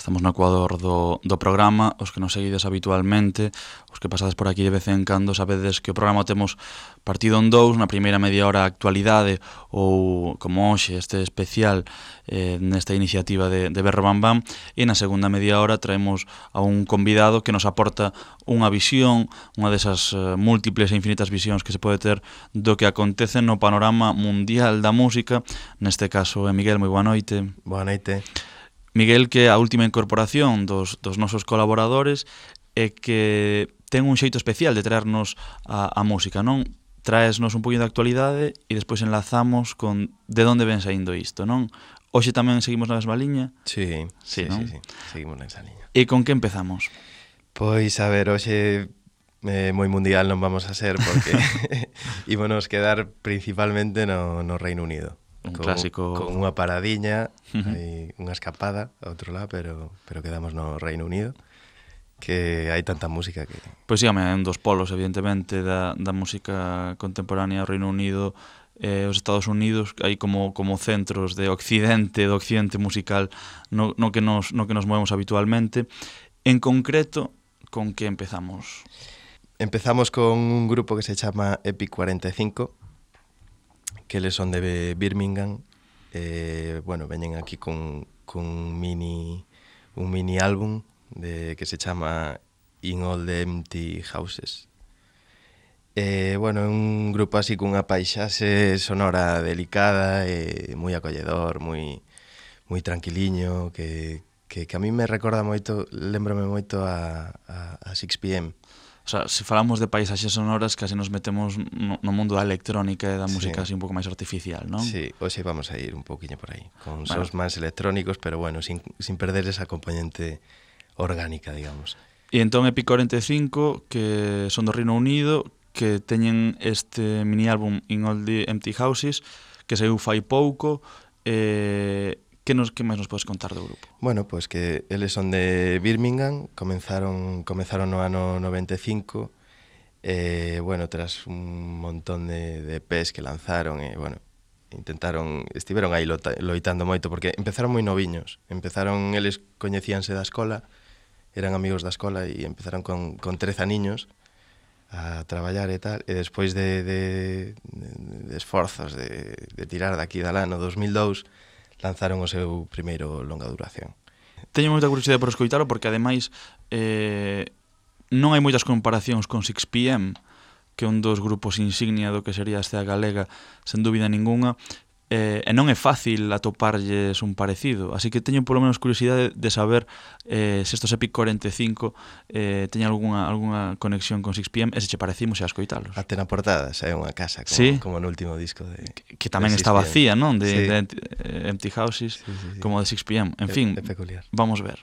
Estamos no ecuador do programa. Os que nos seguides habitualmente, os que pasades por aquí de vez en cando, sabedes que o programa temos partido en dous. Na primeira media hora actualidade, ou como hoxe este especial nesta iniciativa de Berro Bam Bam, e na segunda media hora traemos a un convidado que nos aporta unha visión, unha desas múltiples e infinitas visións que se pode ter do que acontece no panorama mundial da música. Neste caso é Miguel. Moi boa noite. Boa noite. Miguel, que é a última incorporación dos nosos colaboradores e que ten un xeito especial de traernos a música, non? Traesnos un poquinho de actualidade e despois enlazamos con de onde ven saindo isto, non? Hoxe tamén seguimos na mesma liña? Sí, non? sí, seguimos nesa liña. E con que empezamos? Pois, a ver, hoxe moi mundial non vamos a ser porque ímonos quedar principalmente no Reino Unido. Un clásico. Con unha paradiña, unha escapada a outro lado, pero quedamos no Reino Unido, que hai tanta música que... Pois sí, é un dos polos, evidentemente, da música contemporánea. O Reino Unido e os Estados Unidos, hai como centros do occidente musical no que nos movemos habitualmente. En concreto, con que empezamos? Empezamos con un grupo que se chama Epic 45, que eles son de Birmingham. Bueno, veñen aquí con un mini álbum que se chama In All the Empty Houses. Bueno, é un grupo así cunha paisaxe sonora delicada e moi acolledor, moi tranquiliño, que a mí me recorda moito, lembrome moito a 6pm. O sea, se falamos de paisaxes sonoras, casi nos metemos no mundo da electrónica e da música así un pouco máis artificial, non? Sí, hoxe vamos a ir un poquinho por aí, con sons máis electrónicos, pero bueno, sin perder esa componente orgánica, digamos. E entón Epic 45, que son do Reino Unido, que teñen este mini álbum In All the Empty Houses, que saiu fai pouco. Que máis nos podes contar do grupo? Bueno, pois que eles son de Birmingham, comenzaron no ano 95, bueno, tras un montón de EPs que lanzaron, bueno, estiveron aí loitando moito, porque empezaron moi noviños, eles coñecíanse da escola, eran amigos da escola e empezaron con 13 aniños a traballar e tal, e despois de esforzos de tirar daqui da lá no 2002, lanzaron o seu primeiro longa duración. Teño moita curiosidade por escoitalo, porque ademais non hai moitas comparacións con 6pm, que é un dos grupos insignia do que sería a escena galega, sen dúbida ninguna, e non é fácil atoparlles un parecido, así que teño polo menos curiosidade de saber se estos Epic 45 teñen algunha conexión con 6pm, e se che parecimos a escoitalos. Até na portada xa é unha casa, como no último disco de que tamén está vacía, non? De Empty Houses, como de 6pm. En fin, vamos ver.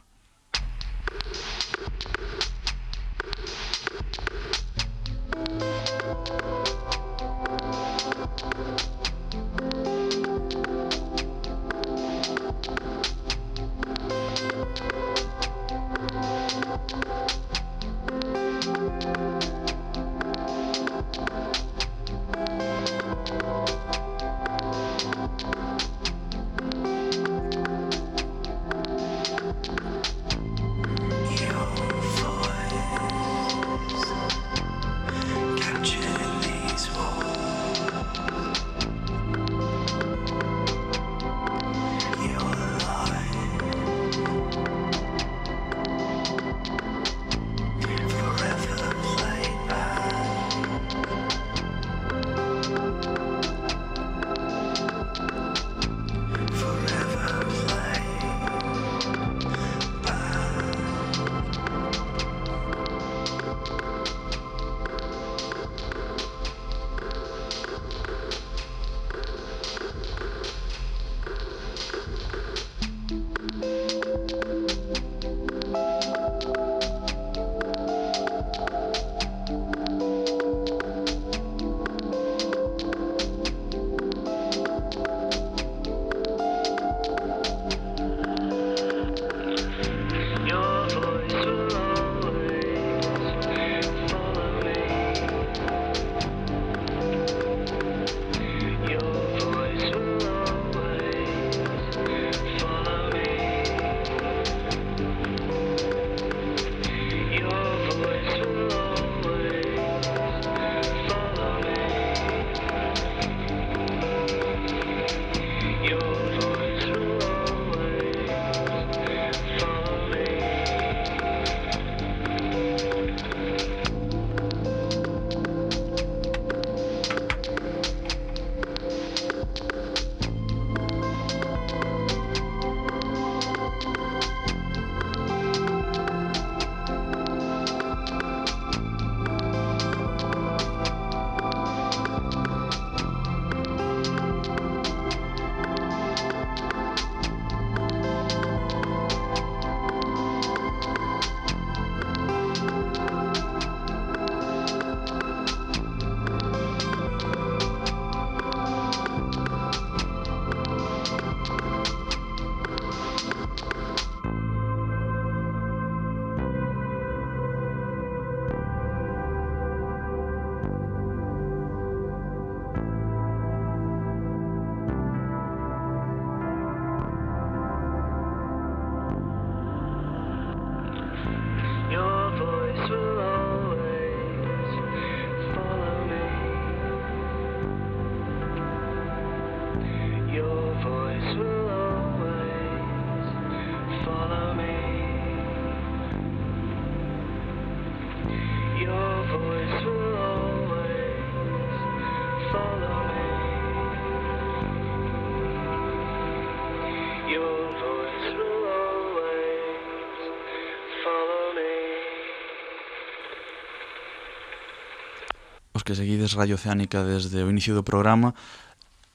os que seguides Radio Oceánica desde o inicio do programa,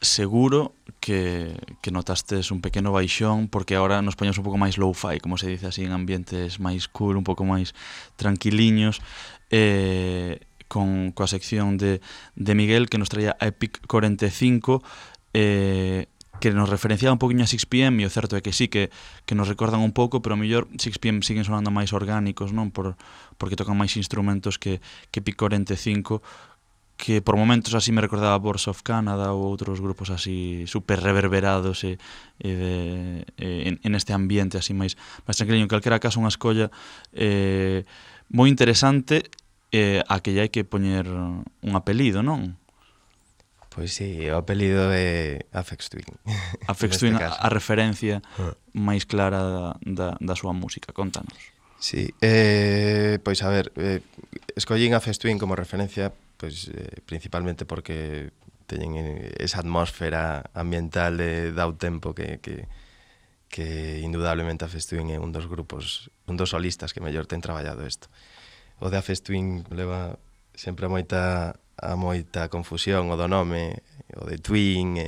seguro que notastes un pequeno baixón, porque agora nos poñemos un pouco máis low-fi, como se dice así, en ambientes máis cool, un pouco máis tranquiliños, coa sección de Miguel, que nos traía a Epic 45, que nos referenciaba un poquinho a 6pm, e o certo é que sí, que nos recordan un pouco, pero a mellor 6pm siguen sonando máis orgánicos, non? Porque tocan máis instrumentos que Epic 45, que por momentos así me recordaba Boards of Canada ou outros grupos así super reverberados en este ambiente así máis tranquilo. En calquera caso, unha escolla moi interesante, a que lle hai que poñer un apelido, non? Pois sí, o apelido é Aphex Twin. Aphex Twin, a referencia máis clara da súa música, contanos. Sí, pois a ver, escollín Aphex Twin como referencia pois principalmente porque teñen esa atmósfera ambiental de dao tempo que indudablemente Aphex Twin é un dos grupos, un dos solistas que mellor ten traballado isto. O de Aphex Twin leva sempre a moita confusión o do nome, o de Twin,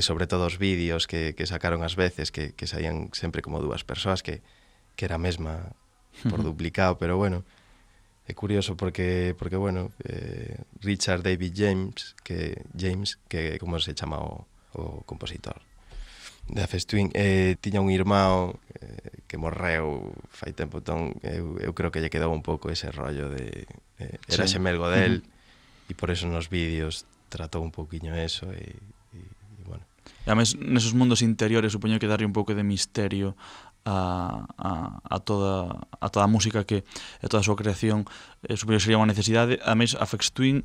sobre todo os vídeos que sacaron ás veces, que saían sempre como dúas persoas, que era a mesma por duplicado, pero bueno, é curioso porque bueno, Richard David James, que como se chama o compositor de Aphex Twin, tiña un irmão que morreu fai tempo, entón eu creo que lle quedou un pouco ese rollo de era xemelgo del, e por eso nos vídeos tratou un pouquiño eso, e bueno. E a mes, nesos mundos interiores, supoño que darlle un pouco de misterio a toda a música que a toda a súa creación, supoño que sería unha necesidade. A mes Aphex Twin,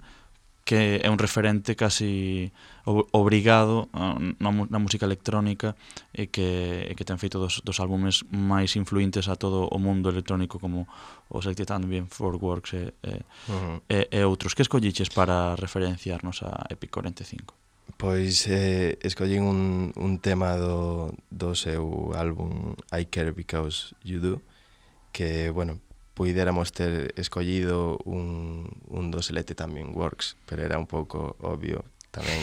que é un referente casi obrigado na música electrónica, e que ten feito dos álbumes máis influentes a todo o mundo electrónico, como o Selected Ambient, Forworks e outros. Que escolliches para referenciarnos a Epic 45? Pois escollín un tema do seu álbum I Care Because You Do, que, bueno, puidéramos ter escollido un do Selected Ambient Works, pero era un pouco obvio tamén,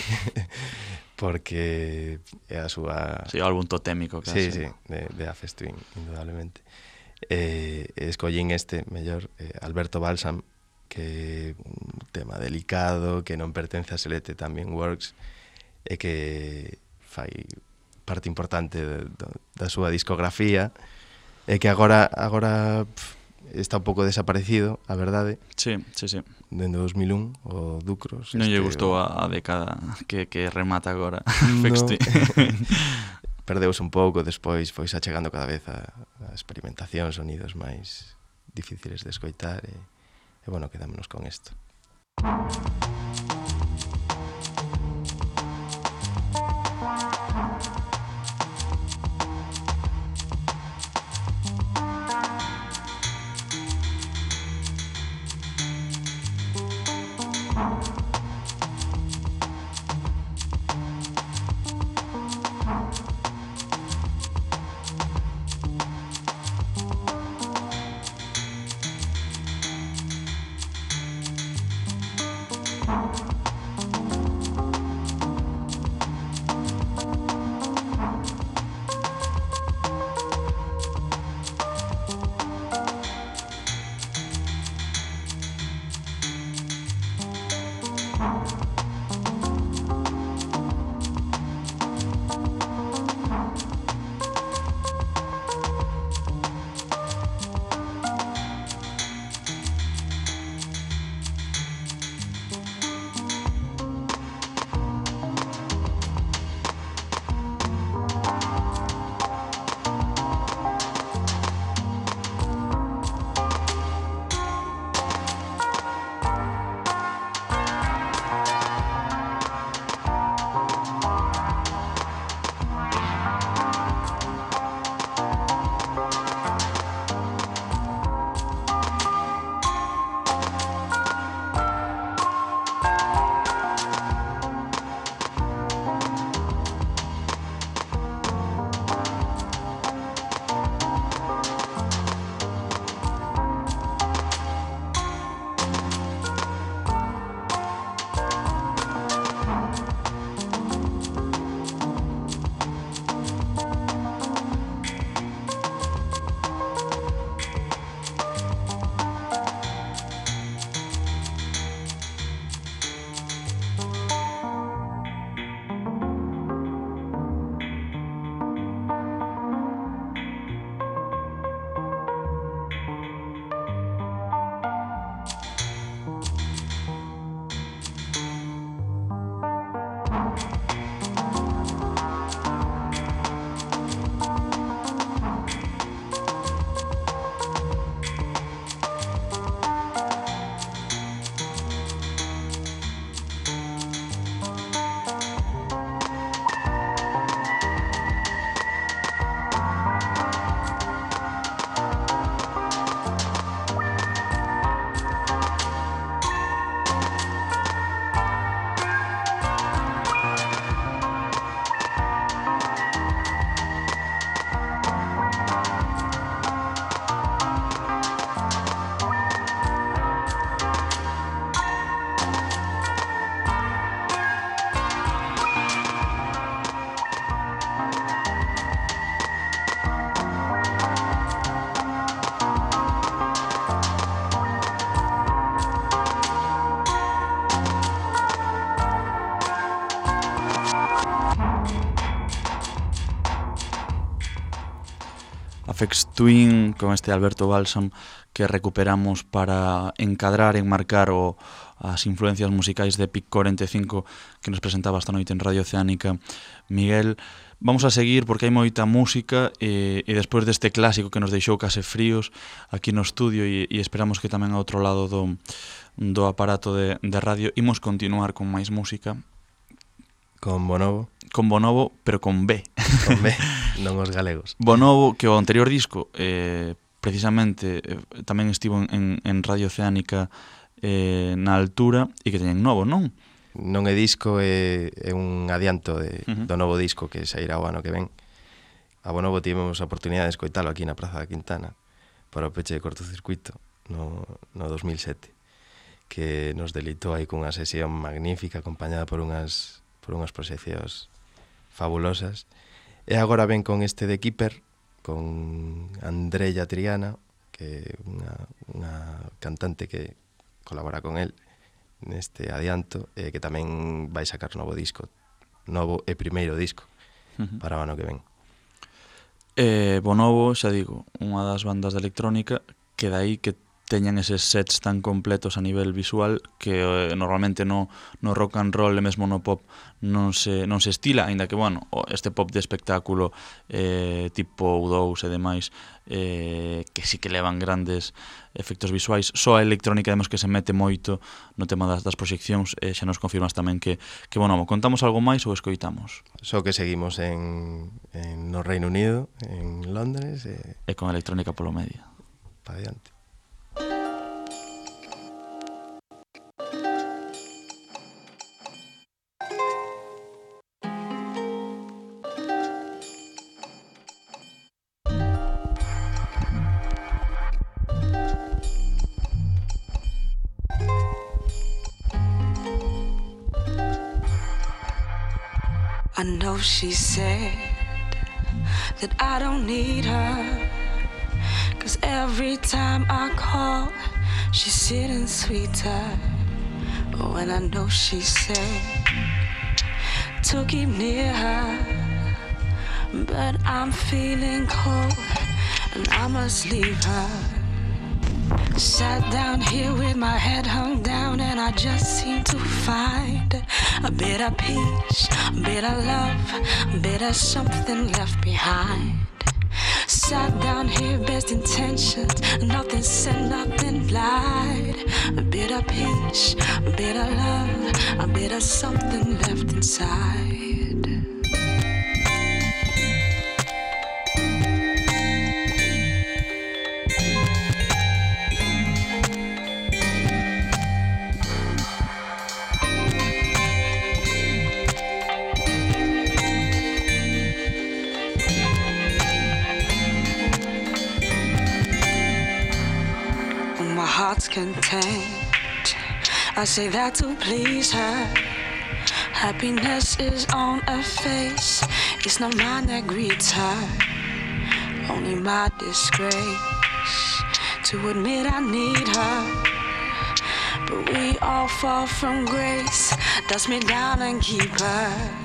porque é a súa... Sí, o álbum totémico, casi. Sí, de Aphex Twin, indudablemente. Escollín este, mellor, Alberto Balsam, que é un tema delicado, que non pertence a Selected Ambient Works, e que fai parte importante da súa discografía, e que agora está un pouco desaparecido, a verdade. Sí. Dende 2001, o Ducros. Non lle gustou a década que remata agora. Aphex Twin. Perdeus un pouco, despois foi xa chegando cada vez a experimentación, sonidos máis difíciles de escoitar, e bueno, quedámonos con isto. Aphex Twin con este Alberto Balsam que recuperamos para encadrar, enmarcar as influencias musicais de Pic 45 que nos presentaba esta noite en Radio Oceánica Miguel. Vamos a seguir porque hai moita música e despois deste clásico que nos deixou case fríos aquí no estudio e esperamos que tamén ao outro lado do aparato de radio imos continuar con máis música. Con Bonobo. Con Bonobo, pero con B. Con B, non os galegos. Bonobo, que o anterior disco precisamente tamén estivo en Radio Oceánica na altura e que teñen novo, non? Non é disco, é un adianto do novo disco que sairá o ano que ven. A Bonobo tivemos a oportunidade de escoitalo aquí na Praza da Quintana para o peche de cortocircuito no 2007 que nos delitou aí cunha sesión magnífica acompañada por unhas proxeccións fabulosas. E agora ven con este de Keeper, con Andrea Triana, que é unha cantante que colabora con el neste adianto, que tamén vai sacar novo disco, novo e primeiro disco para o ano que ven. Bonobo, xa digo, unha das bandas de electrónica que dai que teñan eses sets tan completos a nivel visual que normalmente no rock and roll e mesmo no pop non se estila, aínda que, bueno, este pop de espectáculo tipo U2 e demais que sí que levan grandes efectos visuais. Só a electrónica vemos que se mete moito no tema das proxeccións e xa nos confirmas tamén que bueno, contamos algo máis ou escoitamos? Só que seguimos no Reino Unido, en Londres e con electrónica polo medio. Pa adiante. I know she said that I don't need her, 'cause every time I call, she's sitting sweeter. Oh, and I know she said to keep near her, but I'm feeling cold and I must leave her. Sat down here with my head hung down and I just seem to find a bit of peace, a bit of love, a bit of something left behind. Sat down here, best intentions, nothing said, nothing lied. A bit of peace, a bit of love, a bit of something left inside. Heart's content, I say that to please her. Happiness is on her face, it's not mine that greets her. Only my disgrace to admit I need her. But we all fall from grace, dust me down and keep her.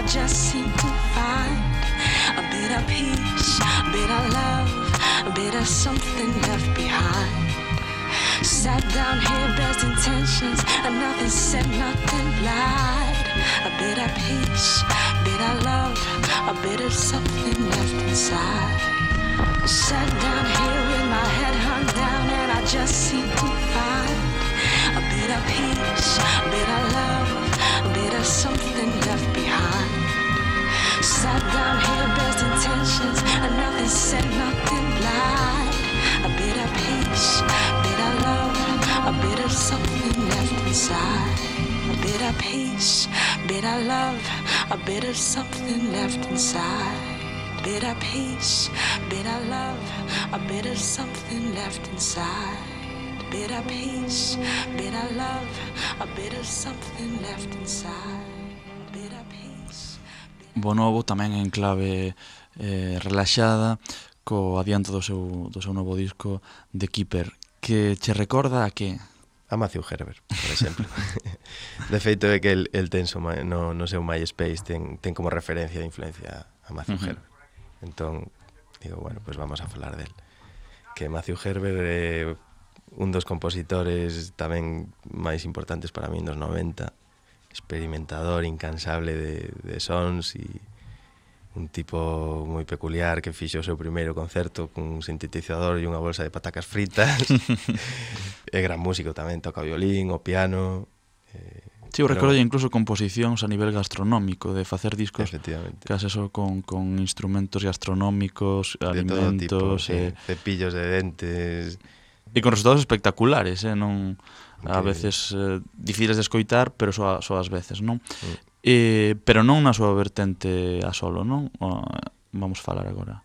Just seem to find a bit of peace, a bit of love, a bit of something left behind. Sat down here, best intentions, and nothing said, nothing lied. A bit of peace, a bit of love, a bit of something left inside. Sat down here with my head hung down and I just seem to find a bit of peace, a bit of love, a bit of something left behind. Sat down here, best intentions, and nothing said, nothing lied. A bit of peace, a bit of love, a bit of something left inside. A bit of peace, a bit of love, a bit of something left inside. A bit of peace, a bit of love, a bit of something left inside. bit of peace, bit of love, a bit of something left inside. Bit of peace. Bo novo tamén en clave relaxada, co adianto do seu novo disco The Keeper, que che recorda a que? A Matthew Herbert, por exemplo. De feito é que el ten no seu MySpace ten como referencia de influencia a Matthew Herbert. Entón, digo, bueno, pues vamos a falar del. Que Matthew Herbert é un dos compositores tamén máis importantes para mí nos 90, experimentador incansable de sons e un tipo moi peculiar que fixo o seu primeiro concerto cun sintetizador e unha bolsa de patacas fritas. É gran músico tamén, toca o violín, o piano. Sí, eu recordo incluso composicións a nivel gastronómico, de facer discos case só con instrumentos gastronómicos, de alimentos, todo tipo, cepillos de dentes. E con resultados espectaculares, non a veces difíciles de escoitar, pero só ás veces, non? Pero non na súa vertente a solo, non? Vamos falar agora.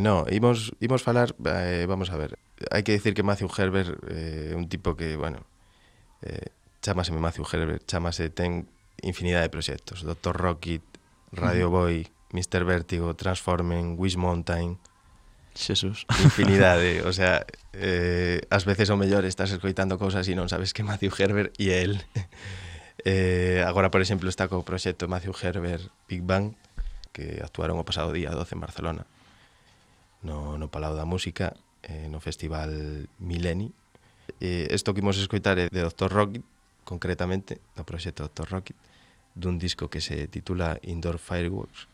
No, imos falar, vamos a ver. Hai que dicir que Matthew Herbert é un tipo que, bueno, chámase Matthew Herbert, ten infinidade de proxectos. Dr. Rocket, Radio Boy, Mr. Vértigo, Transformen, Wish Mountain. Xesús. Infinidade, o sea, ás veces o mellor estás escoitando cousas e non sabes que Matthew Herbert e el. Agora, por exemplo, está co proxecto Matthew Herbert Big Bang, que actuaron o pasado día 12 en Barcelona, no Palau da Música, no Festival Mileni. Isto que imos escoitar é de Dr. Rocket, concretamente, do proxecto Dr. Rocket, dun disco que se titula Indoor Fireworks,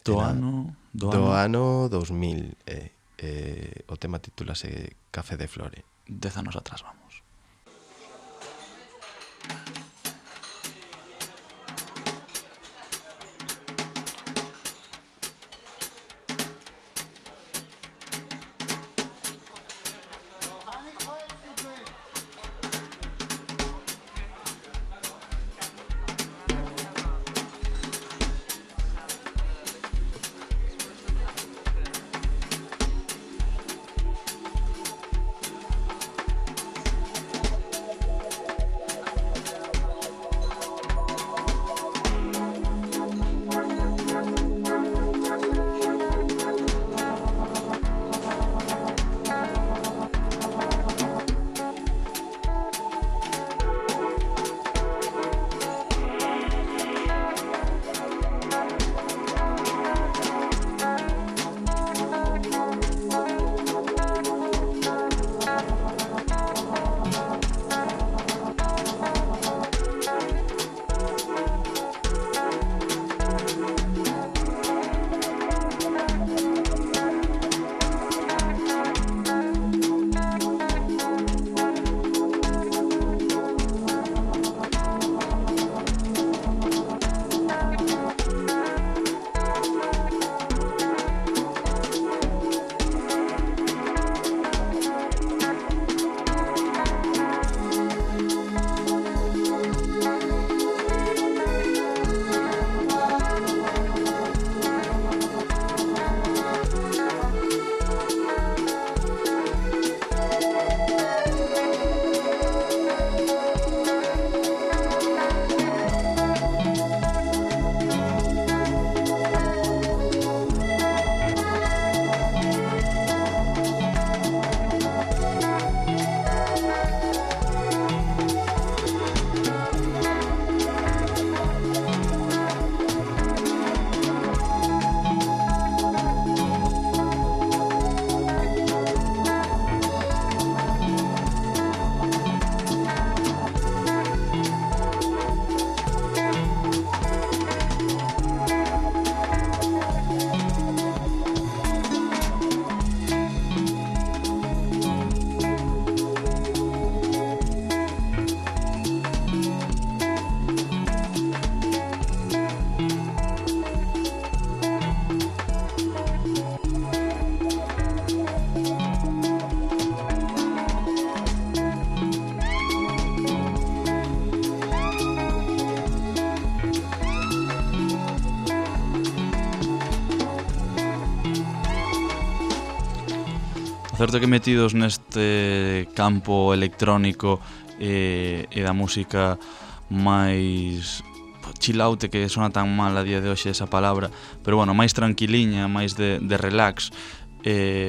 do ano 2000. O tema titúlase Café de Flore. 10 anos atrás, vamos. certo que metidos neste campo electrónico e da música máis chill out, que sona tan mal a día de hoxe esa palabra, pero bueno, máis tranquiliña, máis de relax,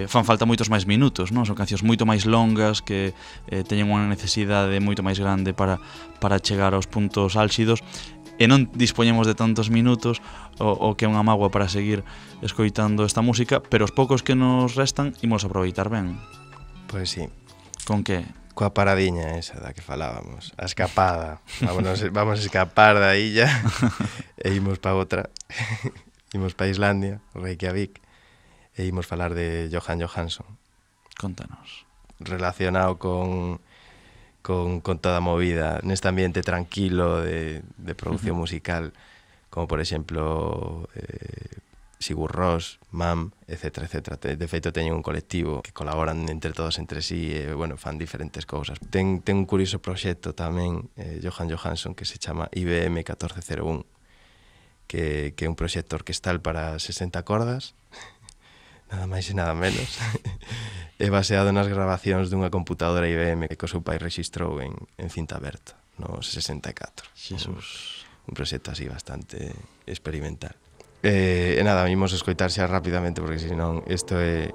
fan falta moitos máis minutos, non? Son cancións moito máis longas que teñen unha necesidade moito máis grande para chegar aos puntos álxidos, e non dispoñemos de tantos minutos o que é unha mágoa para seguir escoitando esta música, pero os poucos que nos restan imos aproveitar ben. Pois sí. Con que? Coa paradiña esa da que falábamos, a escapada. Vamos a escapar da illa e imos pa outra. Imos pa Islandia, Reykjavik, e imos falar de Jóhann Jóhannsson. Contanos. Relacionado con toda a movida neste ambiente tranquilo de producción musical, como por exemplo Sigur Rós, MAM, etc, etc. De feito teñen un colectivo que colaboran entre todos entre sí e, bueno, fan diferentes cousas. Ten un curioso proxecto tamén, Jóhann Jóhannsson, que se chama IBM 1401, que é un proxecto orquestal para 60 cordas, nada máis e nada menos, é baseado nas grabacións dunha computadora IBM que o seu pai rexistrou en cinta aberta no 64. Xesús. Un proxecto así bastante experimental. E nada, imos escoitar xa rapidamente, porque senón isto é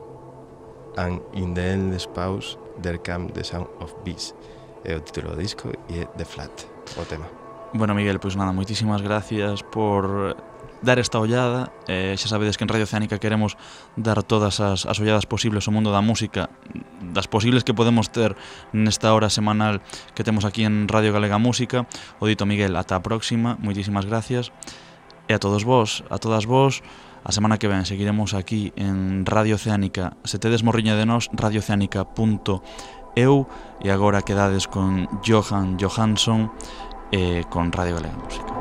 And in the Endless Pause There Come the Sound of Bees, é o título do disco e é The Flat, o tema. Bueno, Miguel, pois nada, moitísimas gracias por dar esta ollada. Xa sabedes que en Radio Oceánica queremos dar todas as olladas posibles ao mundo da música, das posibles que podemos ter nesta hora semanal que temos aquí en Radio Galega Música. O dito, Miguel, ata a próxima, moitísimas gracias. E a todos vos, a todas vos, a semana que ven seguiremos aquí en Radio Oceánica. Se tedes morriña de nós, radiooceánica.eu, e agora quedades con Jóhann Jóhannsson con Radio Galega Música.